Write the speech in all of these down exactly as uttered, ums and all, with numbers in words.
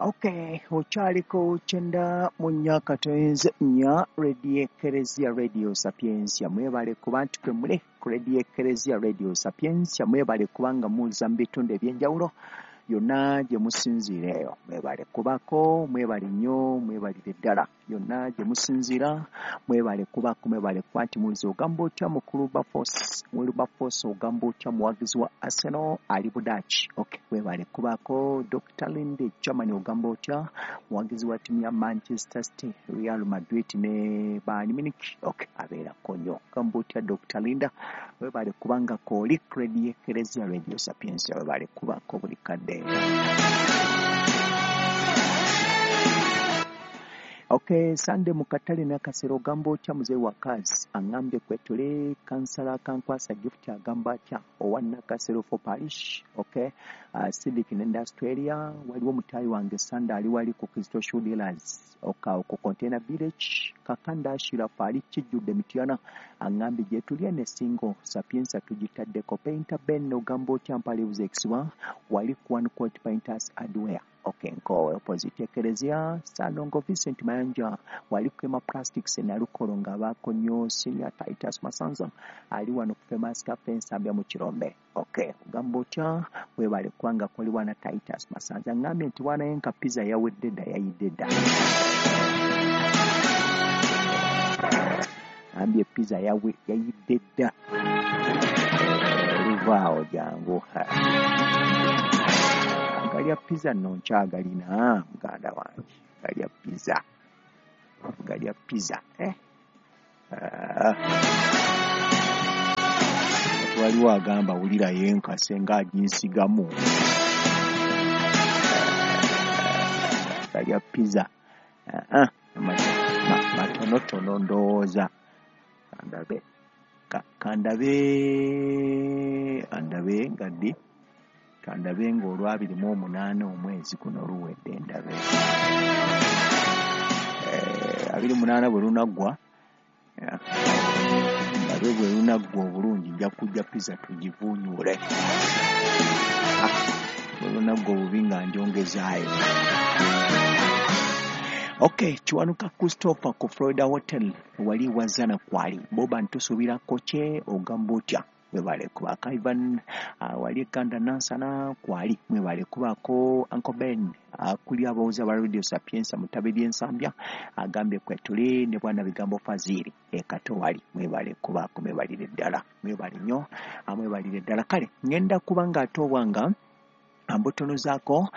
Okay, okyaliko kyenda mu nnya katoyinze nnya Radio Ekereziya Radio Sapientia. Mwebale kuba nti kwe mule ku Radio Ekereziya Radio Sapientia, mwebale kubanga muza mu bitundu eby'enjawulo yonna gye musinziira eyo. Mwebale kubako, mwebale nnyo, mwebalire ddala yonna gye musinziira, mwebale kubako, mwebale kuba nti muliza. Ogamba otya mukulu Bafos, Wilberforce, ogamba otya muwagizi wa Arsenal ali Budaaki? Okay, mwebale kubako. Doctor Linde Germany, ogamba otya muwagizi wa ttiimu ya Manchester City, Real Madrid ne Bayern Munich? Okay, abeerako nnyo. Ogamba otya Doctor Linda, webale kubanga kooli Radio Ekereziya Radio Sapientia, webale kubako buli kadde. Okay, Sunday mukatale nakasero, ogamba otya muzeeyi wa kazi aŋŋambye kwetule kansala kankwasa gift, agamba atya owa Nakasero for parish? Okay, uh, Civic in Australia, waliwo mutayi wange Sunday ali wali ku Crystal Shoe Dealers oka ku Container Village. Kakanda Ashirafu ali kijjudde Mityana, aŋŋambye gye tuli ne single Sapientia tugitaddeko. Painter Ben, ogamba otya mpalibuza ekisiwa wali ku One Court Painters Hardware? Okay, nkowe opposite Ekereziya. Salongo Vincent Mayanja wali kwema Plastics Nalukolo nga baako nnyo. Senior Titus Masanza ali wano ku Famous Cafe Nsambya mu Kirombe. Okay, ogamba otya, webale kubanga koli wana Titus Masanza ngambye nti wana yenka pizza yawedde dda, yayidde dda. Ambye pizza yawe yayidde dda, oluvaawo jangu. Galya pizza nno nkyagalina muganda wange, galya pizza, galya pizza eh. Uh, waliwo agamba wulira yenkase ng'aginsigamu. Galya pizza uh, matonotono ndowooza kandabe kandabe andabe nga ddi, kandabe ng'olwabiri mu omunaana omwezi guno luwedde, ndabe eh, abiri munaana bwe lunaggwa, ndabe bwe lunaggwa obulungi nja kujja pizza tugivuunyule, bwe lunaggwa obubi nga ndyongezaayo. Okay, Kiwanuka Christopher ku Florida Hotel wali wazana kwali boba ntusuubirako kye, ogamba otya, mwebale kubaako. Ivan uh, wali kanda Nansana kwali, mwebale kubaako. Uncle Ben akuli uh, abawuza ba Radio Sapientia mutabe ly'Ensambya agambye kwetuli ne bwana bigambo Fazili ekato wali, mwebale kubaako, mwebalire ddala, mwebale nnyo, mwebalire ddala. Kale ngenda kuba nga ate obwanga mbutonozaako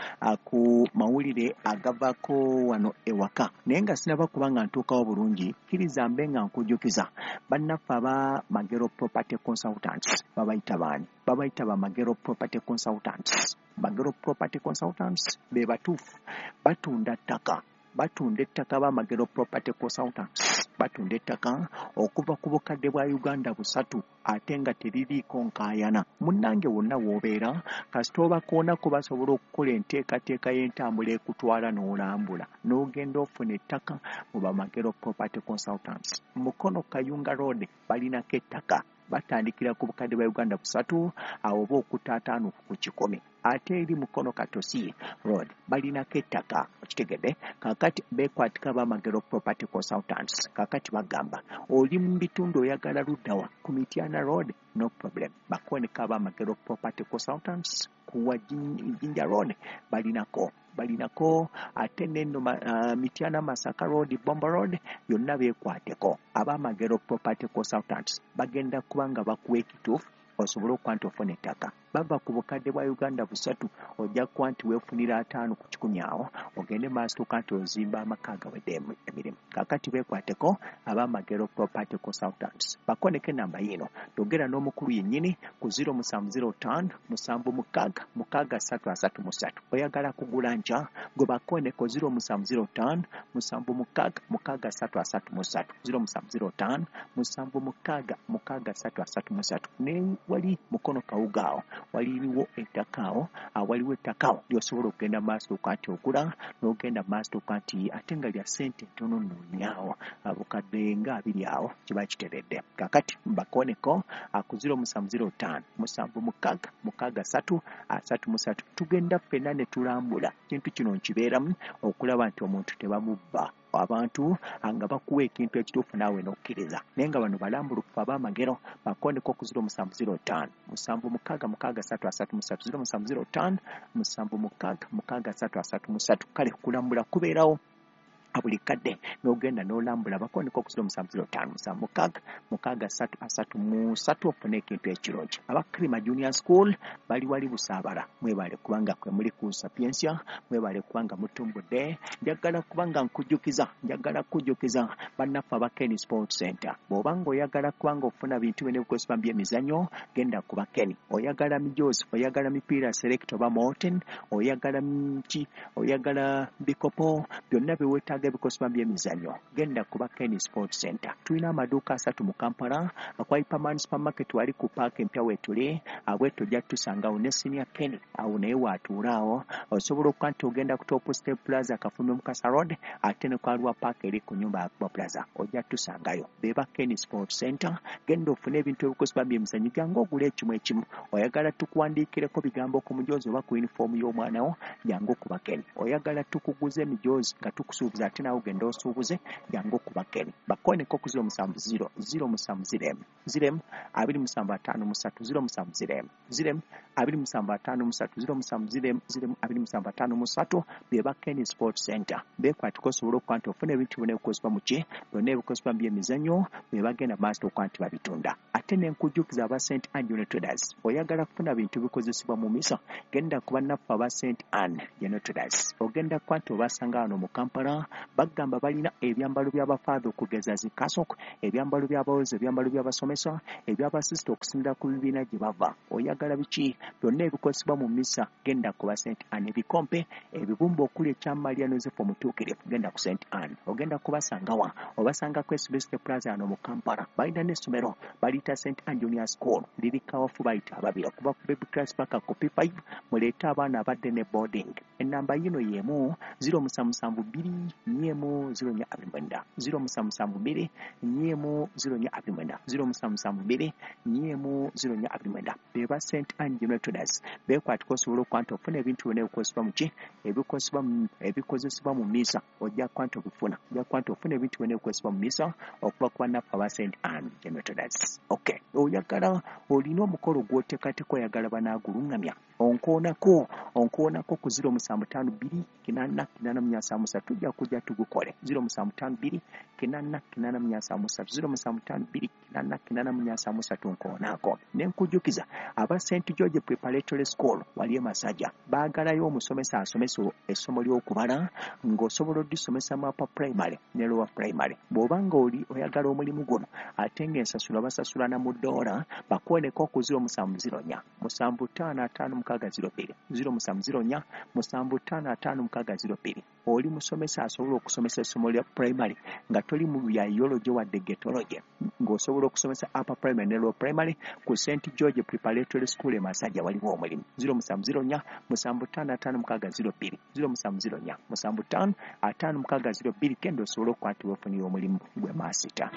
ku mawulire agavaako wano ewaka, naye nga sinaba kuba nga ntuukawo bulungi, kkiriza mbe nga nkujjukiza bannaffe aba Magero Property Consultants. Babayita baani? Babayita ba Magero Property Consultants. Magero Property Consultants be batuufu, batunda ttaka, batunda ettaka. Ba Magero Property Consultants batunda ettaka okuva ku bukadde bwa Uganda busatu, ate nga teririiko nkaayana. Munnange wonna w'obeera, kasita obakoonako basobola okukola enteekateeka y'entambula ekutwala n'olambula n'ogenda ofuna ettaka mu Bamagero Property Consultants. Mukono Kayunga Road balinako ettaka, batandikira ku bukadde bwa Uganda busatu awo oba okutaataano ku kikumi. Ate eri Mukono Katosi Road balinako ettaka, okitegedde? Kaakati beekwatika Bamagero Property Consultants. Kaakati bagamba oli mu bitundu oyagala luddawa ku Mityana Road, no problem, bakoneka Abamagero Property Consultants. Kuwa Jinja Road balinako, balinako ate neno uh, Mityana Masaka Road, Bombo Road yonna beekwateko. Abamagero Property Consultants bagenda kubanga bakuwa ekituufu osobole okuba nti ofuna ettaka. Bava ku bukadde bwa Uganda busatu, ojja kuba nti weefunira ataano ku kikumi awo ogende maaso tuuka nti ozimba amaka agawedde emirimu. Kaakati beekwateko Abamagero Property Consultants, bakoneko enamba yiino, yogera n'omukulu yennyini ku zero musanvu zero ttaano musanvu mukaaga mukaaga ssatu asatu mu ssatu. Oyagala kugula nkya, gwe bakoneko zero musanvu zero ttaano musanvu mukaaga mukaaga ssatu asatu mu ssatu, zero musanvu zero ttaano musanvu mukaaga mukaaga ssatu asatu mu ssatu. Ne wali Mukono Kawuga awo Waliwo ettaka awo, waliwo ettaka awo ly'osobola okugenda maaso okati ogula n'ogenda maaso okati ate nga lya ssente ntono nno nnyo, bukadde nga abiri awo kiba kiteredde. Kaakati mbakooneko ku ziro musanvu ziro ttaano musanvu mukaaga mukaaga ssatu asatu mu ssatu. Tugenda ffenna ne tulambula kintu kino nkibeeramu okulaba nti omuntu tebamubba. Abantu nga bakuwa ekintu ekituufu naawe n'okkiriza, naye nga bano balambulukufu ab'amagero. Bakooneko ku ziro musanvu ziro ttaano musanvu mukaaga mukaaga ssatu asatu mu ssatu, ziro musanvu ziro ttaano musanvu mukaaga mukaaga ssatu asatu mu ssatu. Kale kulambula kubeerawo buli kadde n'ogenda n'olambula. Bakooneko ku ziro musanvu ziro ttaano musanvu mukaaga mukaaga ssatu asatu mu ssatu ofune ekintu ekirungi. Aba Krima Junior School bali wali Busaabala, mwebale kubanga kwe muli ku Sapientia, mwebale kubanga mutumbudde. Njagala kubanga nkujjukiza, njagala kujjukiza bannaffe aba Ken Sport Center. Bw'oba ng'oyagala kubanga ofuna bintu bino ebikozesebwa mu byemizannyo, genda ku ba Ken. Oyagala mijoozi, oyagala mipiira select oba Molten, oyagala ki, oyagala bikopo, byonna bye weetaaga ebikozesebwa by'emizannyo, genda kuba Ken Sport Center. Tulina amaduuka asatu mu Kampala, akwa Hyperman Supermarket wali ku paaka empya weetuli, abweto ojja tusangawo ne Senior Ken awo naye waatuula awo. Osobola okuba nti ogenda ku Top Step Plaza Kafumbe Mukasa Road, ate ne Kwalwa Park eri ku nyumba ya Kuba Plaza ojja tusangayo. Beba Ken Sport Center, genda ofune ebintu ebikozesebwa by'emizannyo, jangu ogule ekimu ekimu. Oyagala tukuwandiikireko bigambo ku mujoozi oba ku yunifoomu y'omwana wo, jangu kuba Ken. Oyagala tukuguze emijoozi nga tukusuubiza ate naawe ogenda osuubuze, jangu kuba Ken. Bakooneko ku ziro musanvu ziro ziro musanvu ziro emu ziro emu abiri musanvu ataano mu ssatu, ziro musanvu ziro emu ziro emu abiri musanvu ataano mu ssatu, ziro musanvu ziro emu ziro emu abiri musanvu ataano mu ssatu. Beba Ken Sport Center. Beekwatiko osobola okuba nti ofuna ebintu byonna ebikozesebwa mu ki, byonna ebikozesebwa mu byemizannyo, be bagenda maaso okuba nti babitunda. Ate ne nkujjukiza aba Saint Anne General Traders, oyagala kufuna bintu bikozesebwa mu misa, genda ku bannaffe aba Saint Anne General Traders. Ogenda kuba nti obasanga wano mu Kampala, bagamba balina ebyambalo by'abafaatha okugeza zi kasok, ebyambalo by'abawozi, ebyambalo by'abasomesa, eby'abasisita okusinziira ku bibiina gye bava. Oyagala biki byonna ebikozesebwa mu misa, genda ku ba Saint Anne. Ebikompe, ebibumba okuli ekya Maria Yosefu Omutuukirivu, genda ku Saint Anne. Ogenda kubasangawa? Obasanga ku S B S Plaza wano mu Kampala. Balina n'essomero baliyita Saint Anne Junior School, liri Kawafu bayita ababiri okuva ku baby class paka ku P five. Muleete abaana abadde ne boarding. Ennamba yino y'emu ziro musanvu musanvu bbiri nnya emu ziro nnya abiri mwenda, ziro musanvu musanvu bbiri nnya emu ziro nnya abiri mwenda, ziro musanvu musanvu bbiri nnya emu ziro nnya abiri mwenda. Beba Saint Anne General Traders. Beekwatiko osobola okuba nti ofuna ebintu byonna ebikozesebwa mu ki, ebikozesebwa mu, ebikozesebwa mu misa, ojja kuba nti obifuna. Ojja kuba nti ofuna ebintu byonna ebikozesebwa mu misa okuva ku bannaffe aba Saint Anne General Traders. Okay, oyagala olina omukolo gw'oteekateeka, oyagala banaagulungamya, onkoonako onkoonako ku ziro musanvu ttaano bbiri kinaana kinaana mu nsanvu mu ssatu, tujja kujja tugukole. Ziro musanvu ttaano bbiri kinaana kinaana mu nsanvu mu ssatu, ziro musanvu ttaano bbiri kinaana kinaana mu nsanvu mu ssatu, nkoonako. Ne nkujjukiza aba Saint George Preparatory School wali e Masajja, baagalayo omusomesa asomesa essomo ly'okubala ng'osobola oddisomesa mu upper primary ne lower primary. Bw'oba ng'oli oyagala omulimu guno ate ng'ensasula basasula na mu ddoola, bakooneko ku ziro musanvu ziro nnya musanvu ttaano ataano mukaaga ziro bbiri, ziro musanvu ziro nnya musanvu ttaano ataano mukaaga ziro bbiri. Oli musomesa asobola okusomesa essomo lya primary nga toli mu bya biology wadde getology, ng'osobola okusomesa upper primary ne lower primary ku Saint George Preparatory School e Masajja, waliwo omulimu. Ziro musanvu ziro nnya musanvu ttaano ataano mukaaga ziro bbiri, ziro musanvu ziro nnya musanvu ttaano ataano mukaaga ziro bbiri. Genda osobole okukwatibwa ofunire omulimu gwe maasita.